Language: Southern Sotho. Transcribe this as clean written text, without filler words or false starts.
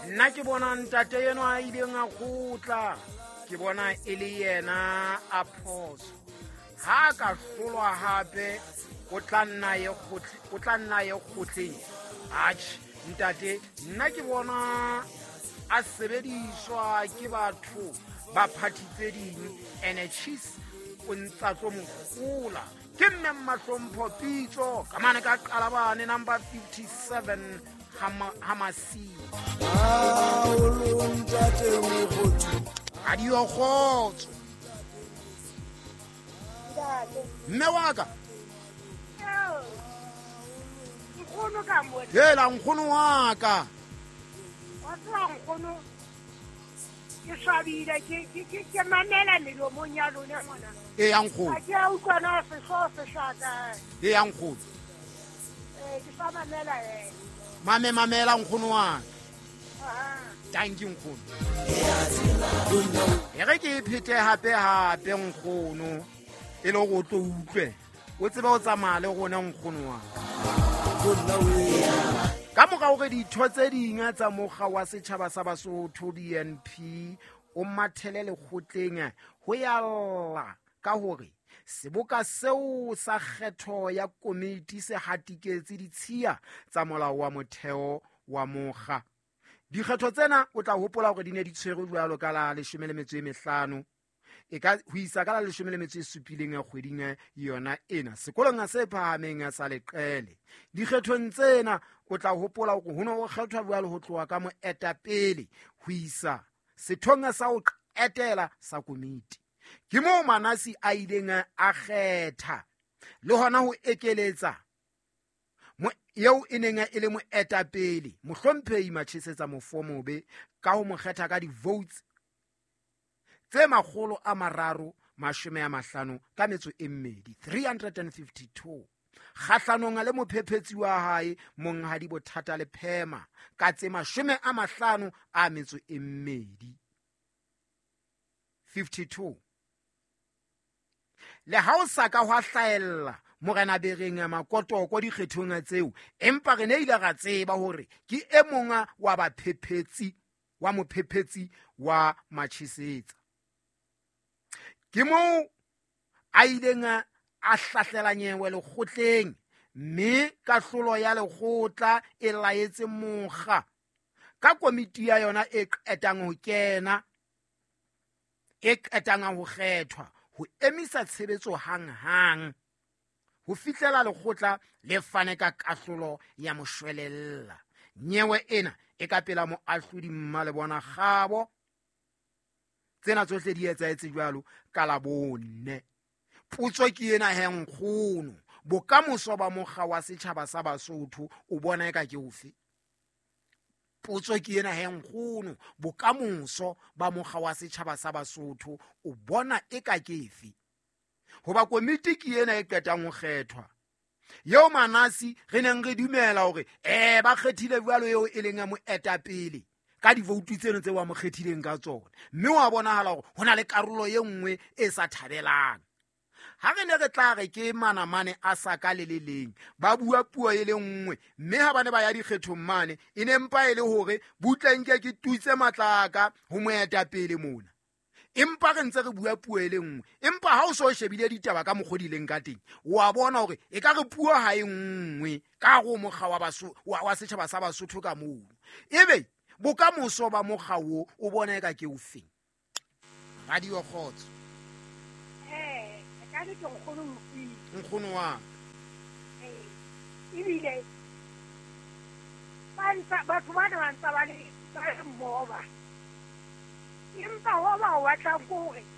Nna ke bona ntate eno a ileng a kgotla, ke bona e le yena a phoso. Ha a ka hlolwa hape, o tla nna ye kgotleng. Atjhe ntate, nna ke bona a sebediswa ke batho ba party tse ding, ene Chiefs o ntsa tlo mogola. Ke mme Mahlompho Pitso ka mane ka Qalabane number 57 Hamasi. Radio Kgotso. Mme wa ka. Nkgono ka mona. Hela nkgono wa ka. Wa tseba nkgono, ke swabile, ke mamela melomong ya lona mona. E ya nkgono. Ha ke a utlwa na sehlooho se hlaka. E ya nkgono. Ke sa mamela e. Mamela nkgono wa ka. Thank you nkgono. E re ke phete hape hape nkgono, e le hore o tlo utlwe. O tsebe o tsamaya le rona nkgono wa ka. Ka mora hore ditho tse ding tsa mokga wa setjhaba sa Basotho BNP o mathele lekgotleng ho ya lla ka hore seboka seo sa kgetho ya komiti se hatiketse ditshiya tsa molao wa motheo wa mokga. Dikgetho tsena o tla hopola hore di ne di tshwerwe jwalo ka la 15 e ka ho isa ka la 17 ya kgweding yona ena sekolong se phahameng sa Leqele. Dikgethong tsena o tla hopola hore ho ne ho kgethwa jwalo ho tloha ka moetapele ho isa sethong sa ho qetela sa komiti. Ke moo Manasi a ileng a kgetha le hona ho ekeletsa eo e neng e le moetapele mohlomphehi Machesetsa Mofomobe ka ho mo kgetha ka di-votes tse 352, 352 kgahlanong le mophephetsi wa hae Monghadi Bothata le Phema ka tse 52, 52. Le ha o sa ka hwa hlahella Morena Bereng Makotoko dikgethong tseo, empa re ne ile ra tseba hore ke e mong wa baphephetsi wa mophephetsi wa Machesetsa. Ke moo a ileng a hlahlela nyewe lekgotleng, mme kahlolo ya lekgotla e laetse mokga ka komiti ya yona e qetang ho kena, e qetang ho kgethwa ho emisa tshebetso hanghang ho fihlela lekgotla le fane ka kahlolo ya moshwelella. Nyewe ena e ka pela moahlodi Mmalebona Kgabo. Tsena tsohle di etsahetse jwalo ka Labone. Potso ke ena he nkgono, bokamoso ba mokga wa setjhaba sa Basotho o bona eka ke ofe? Potso ke ena he nkgono, bokamoso ba mokga wa setjhaba sa Basotho o bona eka ke efe? Hoba komiti ke ena e qetang ho kgethwa, eo Manasi re neng re dumela hore ba kgethile jwalo eo e leng ya moetapele ka divoutu tseno tse wa mo kgethileng ka tsona, mme wa bonahala hore ho na le karolo e nngwe e sa thabelang. Ha re ne re tla re ke manamane a sa ka le le leng, ba bua puo e le nngwe, mme ha ba ne ba ya dikgethong mane e ne mpa e le hore butle nke ke tutse matlaka ho moetapele mona, empa re ntse re bua puo e le nngwe. Empa ha o so shebile ditaba ka mokgwa di leng ka teng, wa bona hore e ka re puo ha e nngwe ka go mokga wa setjhaba sa Basotho ka moo. Ebe bokamoso ba mokga wo o bona eka ke ofeng? Radio Kgotso. Ka le ke nkgono Mokwena. Nkgono wa. Ebile batho ba ne ba ntse ba le mmoba, empa ho ba o batlang ke hore